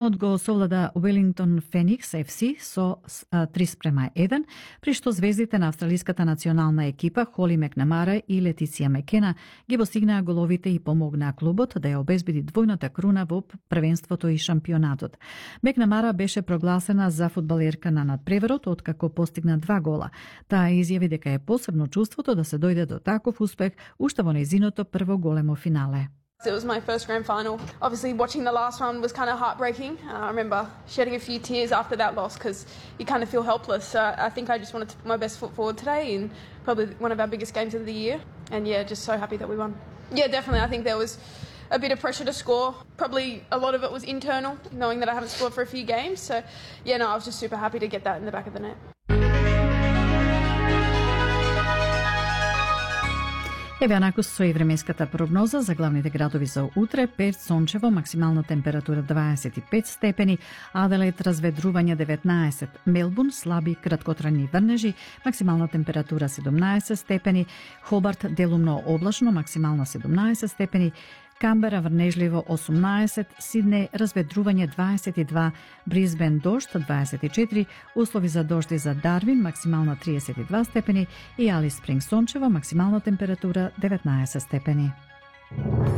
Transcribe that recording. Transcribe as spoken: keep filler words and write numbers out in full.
Од го совлада Wellington Phoenix Еф Си со три спрема еден, при што звездите на австралиската национална екипа Холи Макнамара и Летиција Мекена ги постигнаа головите и помогнаа клубот да ја обезбеди двојната круна во првенството и шампионатот. Макнамара беше прогласена за фудбалерка на надпреверот откако постигна два гола. Таа изјави дека е посебно чувството да се дојде до таков успех уште во нејзиното прво големо финале. It was my first grand final. Obviously, watching the last one was kind of heartbreaking. Uh, I remember shedding a few tears after that loss because you kind of feel helpless. So I think I just wanted to put my best foot forward today in probably one of our biggest games of the year. And yeah, just so happy that we won. Yeah, definitely. I think there was a bit of pressure to score. Probably a lot of it was internal, knowing that I haven't scored for a few games. So yeah, no, I was just super happy to get that in the back of the net. Еве анаку со и временската прогноза за главните градови за утре: Перт сончево, максимална температура дваесет и пет степени, Аделаид разведрување деветнаесет, Мелбурн слаби краткотрajни врнежи, максимална температура седумнаесет степени, Хобарт делумно облачно, максимална седумнаесет степени, Камбера врнежливо осумнаесет, Сиднеј разведрување дваесет и два, Брисбен дожд дваесет и четири, услови за дожд и за Дарвин, максимална триесет и два степени и Алис Спринг сончево, максимална температура деветнаесет степени.